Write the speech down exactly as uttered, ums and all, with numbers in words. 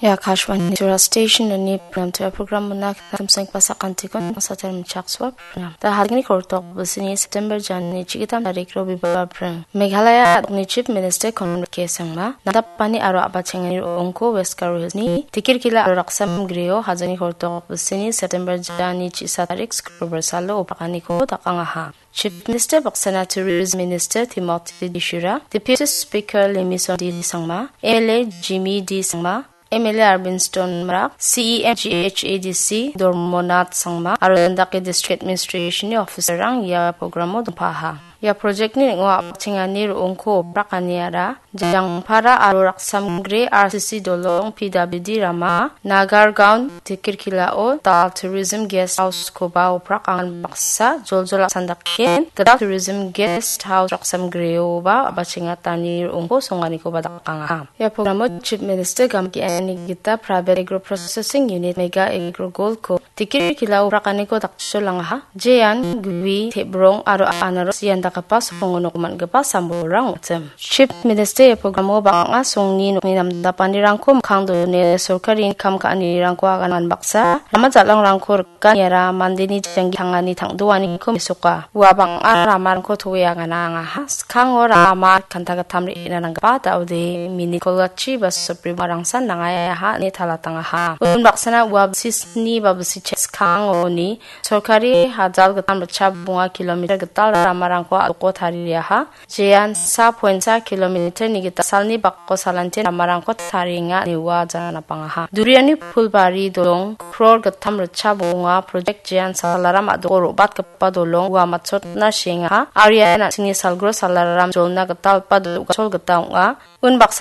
Ia Akashvani Tura Station-oni program, program-ona Kimseng Pasak Antikon Satar Michak Swap program. Da hadgni kortok busini September jani chigitam tarik Robibar pring. Meghalaya adokni Chief Minister Conrad K Sangma, nadapani aro abachengani ro·ongko West Garo Hills-ni Tikirkila aro Raksam Grio hajani kortok busini September jani chisa tarik Skrobar salo oprakaniko dakangaha. Chief Minister baksana Tourism Minister Timothy Dishura, Deputy Speaker Lemison D Sangma, M L A Jimmy D Sangma, M L A Arvind Stone Marak, C E M G H A D C Dormonath Sangma, aro Landake District Administration-ni officer-rang ia programo dongpaha. Ia project-ni ning·o a·chengani ro·ongko oprakaniara Jangpara aro Raksamgre R C C dolong P W D rama, Nagargaon Tikirkilao Dal Tourism Guest House-koba oprakangan baksa joljol a·sandaken, Dal Tourism Guest House Raksamgreoba abachengatani ro·ongko songanikoba dakangaha. Ia programo Chief Minister gamgiani gita Private Agro Processing Unit Mega Agro Gold-ko Tikirkilao oprakaniko dakcholangaha. Jean, gui, tebrong aro anaros ian dakgipa songo nok man·gipa sambolrang ong·achim. Chief Minister ia programo bang·a songni nokni namdapanirangko mikkang done sorkarini kam ka·anirangko agangan baksa, rama jal·angrangko rikaniara mandeni janggi tangani tang·doaniko mesoka. Ua bang·a ramarangko toe agana angaha. Skango rama kanta gittam re·na nanggipa da·ode mini kolgachi ba supreme rangsan nangaha ine talatangaha. Unbaksana ua bisisni ba bisichek skangoni sorkari hajal gittam ritchap bonga kilometer gital ramarangko a·doko tariaha. Jean sa point sa kilometer-ni gita salni bako salanti ramarangko tarienga ine ua janapangaha. Duriani pulbari dolong kror gittam ritchap bonga project Jean Salaram a·doko ro·batgipa dolong ua matchotna seengaha. Aro ia an·chingni salgro Salaram jolna gitalgipa do·gachol gita ong·a. Unbaksa